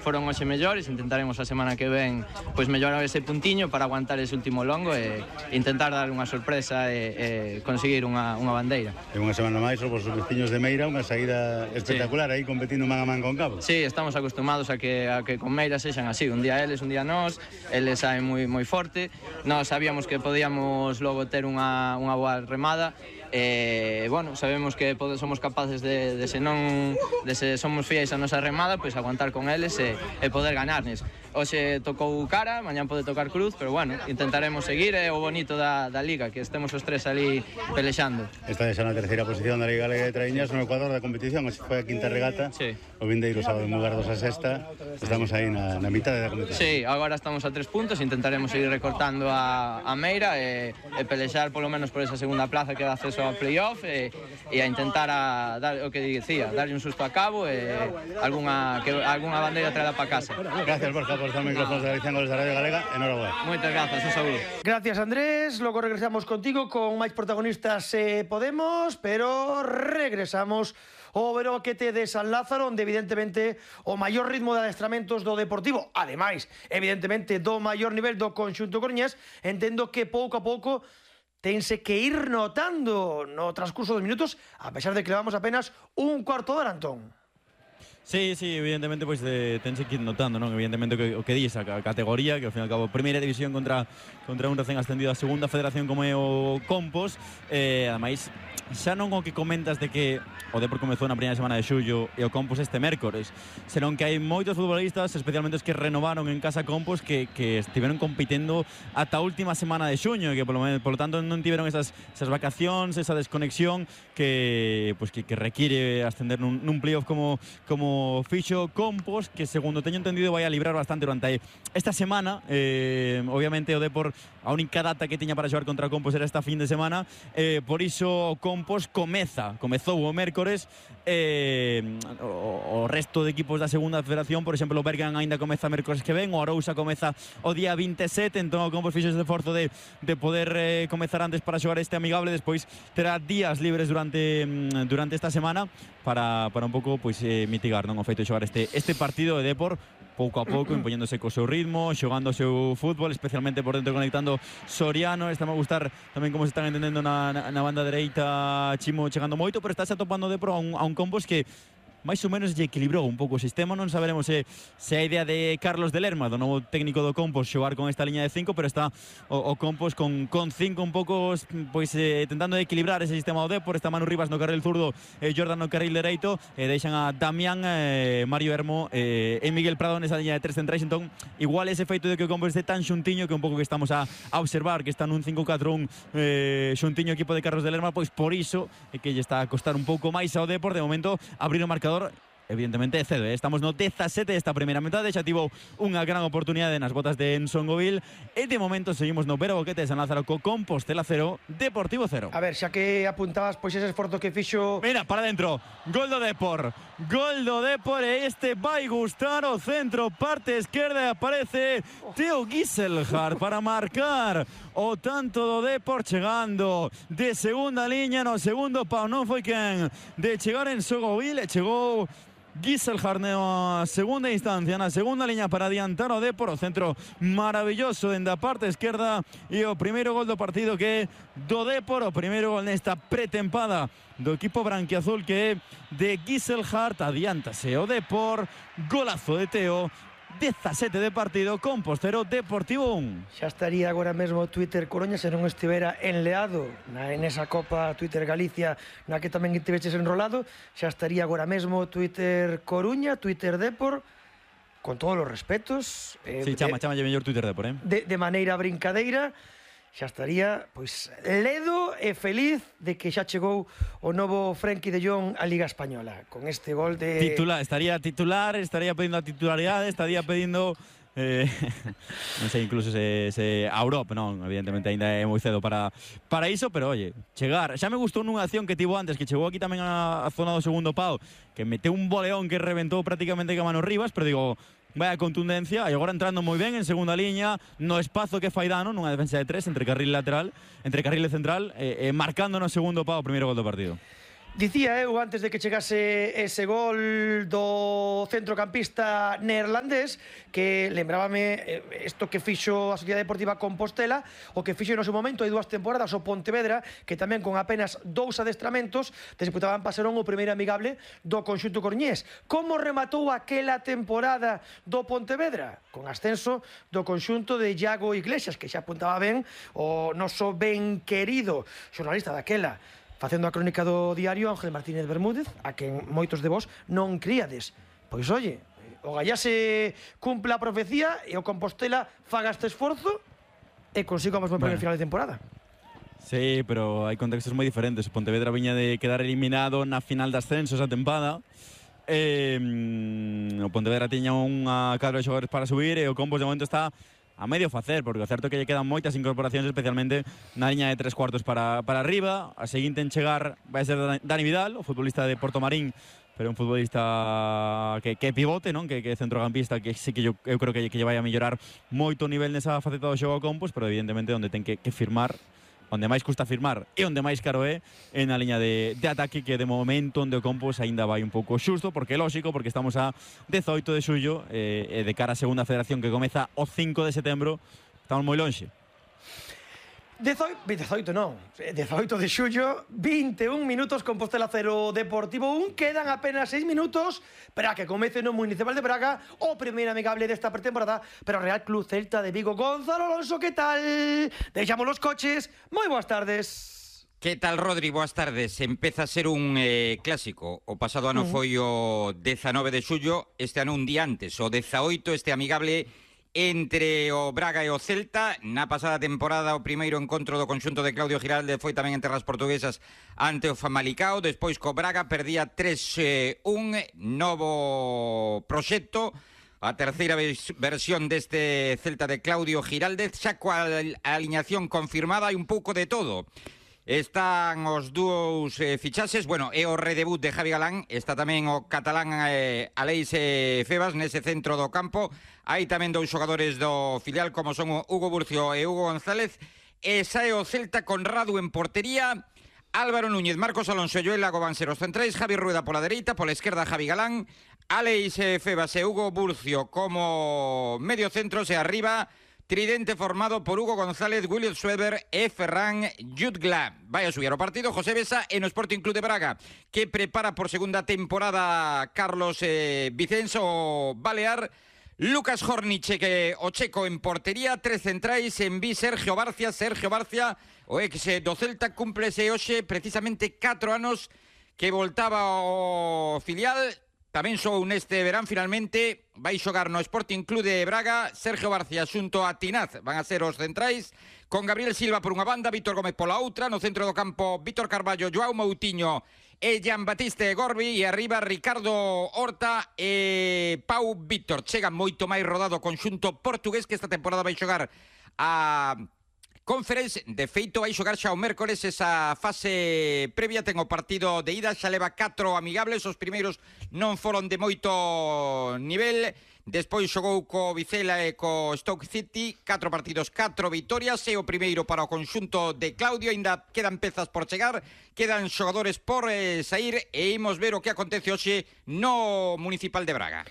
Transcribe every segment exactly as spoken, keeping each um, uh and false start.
foron hoxe mellores, intentaremos a semana que ven pois mellorar ese puntiño para aguantar ese último longo e intentar dar unha sorpresa e, e conseguir unha, unha bandeira. E unha semana máis os vosos veciños de Meira, unha saída espectacular, sí. Aí competindo man a man con Cabo. Sí, estamos acostumados a que, a que con Meira sexan así, un día eles, un día nós, eles saen moi, moi forte, nós sabíamos que podíamos logo ter unha, unha boa remada, e, bueno, sabemos que somos capaces de, de se non de se somos fiéis a nosa remada, pois aguantar con eles e, e poder ganarnes. Hoxe tocou cara, mañán pode tocar cruz, pero bueno, intentaremos seguir, é o bonito da, da Liga, que estemos os tres ali pelexando. Esta é xa na terceira posición da Liga Galega de Traíñas no Ecuador da competición, hoxe foi a quinta regata, sí. O vindeiro sábado en lugar dos a sexta, estamos aí na, na mitad da competición. Sí, agora estamos a tres puntos, intentaremos seguir recortando a, a Meira e, e pelexar polo menos por esa segunda plaza que dá acceso ao playoff e, e a intentar a, dar, o que dicía, darlle un susto a Cabo e algunha, que, algunha bandeira traída para casa. Gracias, Borja, por estar en micrófonos de Galicia en Goles da Radio Galega. Enhorabuena. Moitas grazas, un saúdo. Gracias, Andrés. Logo regresamos contigo con máis protagonistas se eh, podemos, pero regresamos ao Beroquete de San Lázaro, onde evidentemente o maior ritmo de adestramentos do Deportivo, ademais, evidentemente, do maior nivel do conxunto coruñés, entendo que pouco a pouco tense que ir notando no transcurso dos minutos, a pesar de que levamos apenas un cuarto de hora, Antón. Sí, sí, evidentemente pois pues, tense que ir notando, non? Evidentemente o que, o que di esa categoría, que ao fin e ao cabo primeira división contra contra un recén ascendido a segunda federación como é o Compos, eh, ademais xa non o que comentas de que o Depor comezou na primeira semana de xullo e o Compos este mércores, senón que hai moitos futbolistas, especialmente os que renovaron en casa Compos, que, que estiveron compitendo ata a última semana de xuño, e que polo, polo tanto non tiveron esas, esas vacacións, esa desconexión que, pues, que, que require ascender nun, nun playoff como, como fixo Compos, que segundo teño entendido vai a librar bastante durante esta semana. eh, obviamente o Depor a única data que tiña para xogar contra Compos era esta fin de semana, eh, por iso Compos comeza, comezou o mércores, eh, o, o resto de equipos da segunda federación, por exemplo o Bergan aínda comeza mércores que ven, o Arousa comeza o día veintisiete, entón o Compos fixo ese esforzo de, de poder eh, comezar antes para xogar este amigable, despois terá días libres durante durante esta semana para, para un pouco pois, eh, mitigar non o feito de xogar este, este partido de Depor pouco a pouco, impoñéndose co seu ritmo, xogando o seu fútbol, especialmente por dentro conectando Soriano. Está a gustar tamén como se están entendendo na, na, na banda dereita, Chimo chegando moito, pero estáse atopando de pro a un, a un Compos que máis ou menos lle equilibrou un pouco o sistema. Non saberemos se, se a idea de Carlos de Lerma, do novo técnico do Compos, xogar con esta liña de cinco, pero está o, o Compos con, con cinco un pouco pois eh, tentando de equilibrar ese sistema do Depor. Está Manu Rivas no carril zurdo, eh, Jordan no carril dereito, e eh, deixan a Damián, eh, Mario Hermo eh, e Miguel Prado nesa liña de tres centrais. Entón, igual ese feito de que o Compos este tan xuntiño, que un pouco que estamos a, a observar, que está nun cinco catro un eh, xuntiño equipo de Carlos de Lerma, pois por iso é que lle está a costar un pouco máis ao Depor de momento abrir o marcador. Evidentemente é cedo, eh? Estamos no dezasete desta primeira metade, xa tivo unha gran oportunidade nas botas de Enson Govil e de momento seguimos no Beroquete de San Lázaro co Compostela cero, Deportivo cero. A ver, xa que apuntabas pois ese esforzo que fixo... Mira, para dentro, gol do Depor, gol do Depor, e este vai gustar o centro, parte esquerda, e aparece Teo Giselhardt para marcar o tanto do Depor, chegando de segunda liña no segundo pau, non foi quen de chegar Enson Govil, e chegou Giselhardt na segunda instancia, na segunda liña para adiantar o Depor, o centro maravilloso dende a parte esquerda, e o primeiro gol do partido que é do Depor, o primeiro gol nesta pretempada do equipo branquiazul, que é de Giselhardt. Adiántase o Depor, golazo de Teo, dezasete de partido, Compos cero, Deportivo un. Xa estaría agora mesmo Twitter Coruña se non estivera enleado na, en esa Copa Twitter Galicia na que tamén estiveches enrolado. Xa estaría agora mesmo Twitter Coruña, Twitter Depor, con todos os respetos, eh, sí, chama, chama lle mellor Twitter Depor, eh? de, de maneira brincadeira. Xa estaría, pois, ledo e feliz de que xa chegou o novo Frenkie de Jong á Liga Española con este gol de... Titular, estaría titular, estaría pedindo a titularidade, estaría pedindo... Eh, non sei, incluso se, se a Europa, non, evidentemente ainda é moi cedo para, para iso, pero oye, chegar, xa me gustou nunha acción que tivo antes, que chegou aquí tamén a, a zona do segundo pau, que meteu un boleón que reventou prácticamente que a Mano Rivas, pero digo, vaya contundencia, e agora entrando moi ben en segunda liña, no espazo que fai dano, nunha defensa de tres, entre carril lateral, entre carril central, e eh, eh, marcando no segundo pau o primeiro gol do partido. Dicía eu antes de que chegase ese gol do centrocampista neerlandés que lembrábame isto que fixo a Sociedade Deportiva Compostela, o que fixo no seu momento hai dúas temporadas o Pontevedra, que tamén con apenas dous adestramentos disputaban Pasarón o primeiro amigable do conxunto coruñés. Como rematou aquela temporada do Pontevedra? Con ascenso do conxunto de Iago Iglesias, que xa apuntaba ben o noso ben querido xornalista daquela, facendo a crónica do diario, Ángel Martínez Bermúdez, a quen moitos de vos non críades. Pois, oye, o Gallá se cumpla a profecía e o Compostela faga este esforzo e consiga o mesmo bueno. final de temporada. Sí, pero hai contextos moi diferentes. O Pontevedra viña de quedar eliminado na final de ascenso esa tempada. Eh, o Pontevedra tiña unha cadra de xogadores para subir e o Compos de momento está a medio facer, porque o certo é que lle quedan moitas incorporacións, especialmente na liña de tres cuartos para, para arriba. A seguinte en chegar vai ser Dani Vidal, o futbolista de Portomarín, pero un futbolista que, que pivote, non? Que, que centrocampista, que sí que yo, eu creo que, que lle vai a mellorar moito o nivel nesa faceta do xogo ao Compos, pero evidentemente onde ten que, que firmar, onde máis custa firmar e onde máis caro é en a liña de, de ataque, que de momento onde o Compos aínda vai un pouco xusto, porque é lógico, porque estamos a dezoito de xullo e eh, de cara a segunda federación que comeza o cinco de setembro, estamos moi lonxe. dezoito non, dezoito de xullo, vinte e un minutos, Compostela cero, Deportivo un, quedan apenas seis minutos para que comece no Municipal de Braga o primeiro amigable desta pretemporada para o Real Club Celta de Vigo. Gonzalo Alonso, que tal? Deixamos los coches, moi boas tardes. Que tal, Rodri? Boas tardes. Empeza a ser un eh, clásico. O pasado ano uh -huh. foi o dezanove de xullo, este ano un día antes, o dezaoito, este amigable entre o Braga e o Celta. Na pasada temporada o primeiro encontro do conxunto de Claudio Giralde foi tamén entre as portuguesas ante o Famalicao. Despois co Braga perdía tres un, novo proxecto, a terceira versión deste Celta de Claudio Giralde, xa coa aliñación confirmada, hai un pouco de todo. Están os dúos eh, fichaxes, bueno, é o redebut de Javi Galán, está tamén o catalán eh, Aleix eh, Febas nese centro do campo. Hai tamén dous xogadores do filial como son o Hugo Burcio e Hugo González. E sae o Celta con Radu en portería, Álvaro Núñez, Marcos Alonso e Joel Lago van ser os centrais, Javi Rueda pola dereita, pola esquerda Javi Galán, Aleix eh, Febas e Hugo Burcio como medio centros, e arriba tridente formado por Hugo González, William Schweber e Ferran Jutgla. Vai a subir o partido José Besa e no Sporting Club de Braga, que prepara por segunda temporada Carlos eh, Vicenzo Balear, Lucas Horniche, que o checo en portería, tres centrais, en vi Sergio Barcia, Sergio Barcia, o ex do Celta, cúmplese hoxe precisamente catro anos que voltaba ao filial. Tamén sou neste verán, finalmente, vai xogar no Sporting Club de Braga. Sergio Barcia xunto a Tinaz van a ser os centrais, con Gabriel Silva por unha banda, Víctor Gómez pola outra, no centro do campo Víctor Carballo, Joao Moutinho e Jean Batiste Gorbi, e arriba Ricardo Horta e Pau Víctor. Chega moito máis rodado o conxunto portugués, que esta temporada vai xogar a Conference. De feito, vai xogar xa o mércores esa fase previa. Ten o partido de ida, xa leva catro amigables, os primeiros non foron de moito nivel. Despois xogou co Vizela e co Stoke City, catro partidos, catro vitorias, e o primeiro para o conxunto de Claudio. Ainda quedan pezas por chegar, quedan xogadores por eh, sair, e imos ver o que acontece hoxe no Municipal de Braga.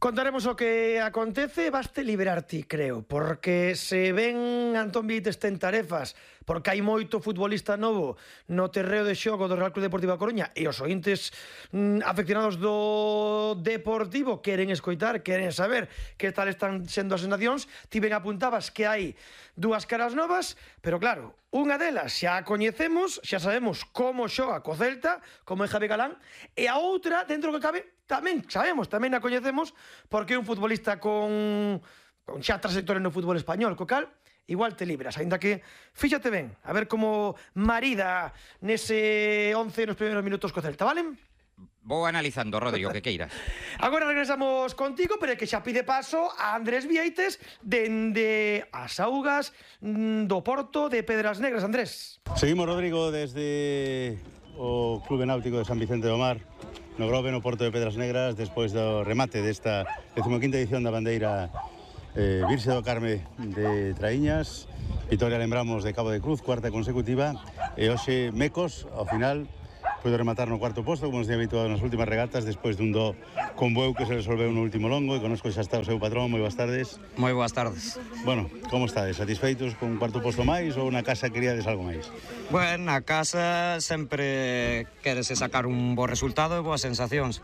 Contaremos o que acontece, baste liberar ti, creo, porque se ven Antón Vieites ten tarefas, porque hai moito futbolista novo no terreo de xogo do Real Club Deportivo a Coruña, e os ointes mm, afeccionados do Deportivo queren escoitar, queren saber que tal están sendo as sensacións. Ti ben apuntabas que hai dúas caras novas, pero claro, unha delas xa a coñecemos, xa sabemos como xoga co Celta, como é Javi Galán, e a outra, dentro do que cabe, tamén sabemos, tamén a coñecemos, porque é un futbolista con, con xa trayectoria no fútbol español, co cal igual te libras, aínda que fíxate ben, a ver como marida nese once nos primeiros minutos co Celta, vale? Vou analizando, Rodrigo, que queiras. Agora regresamos contigo, pero é que xa pide paso a Andrés Vieites dende as augas do Porto de Pedras Negras. Andrés. Seguimos, Rodrigo, desde o Clube Náutico de San Vicente do Mar, no Grove, no Porto de Pedras Negras, despois do remate desta decimoquinta edición da bandeira eh, Virxe do Carme de Traíñas. Vitoria, lembramos, de Cabo de Cruz, cuarta consecutiva, e hoxe Mecos, ao final, puido rematar no cuarto posto, como nos tinha habituado nas últimas regatas, despois dun do con Bueu que se resolveu no último longo, e conozco xa está o seu patrón. Moi boas tardes. Moi boas tardes. Bueno, como estades? Satisfeitos con un cuarto posto máis ou na casa queríades algo máis? Bueno, na casa sempre querese sacar un bo resultado e boas sensacións.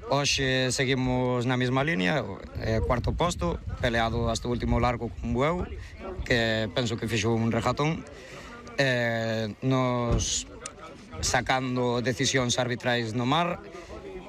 Hoxe seguimos na mesma línea, eh, cuarto posto, peleado hasta o último largo con Bueu, que penso que fixo un regatón. Eh, nos sacando decisións arbitrais no mar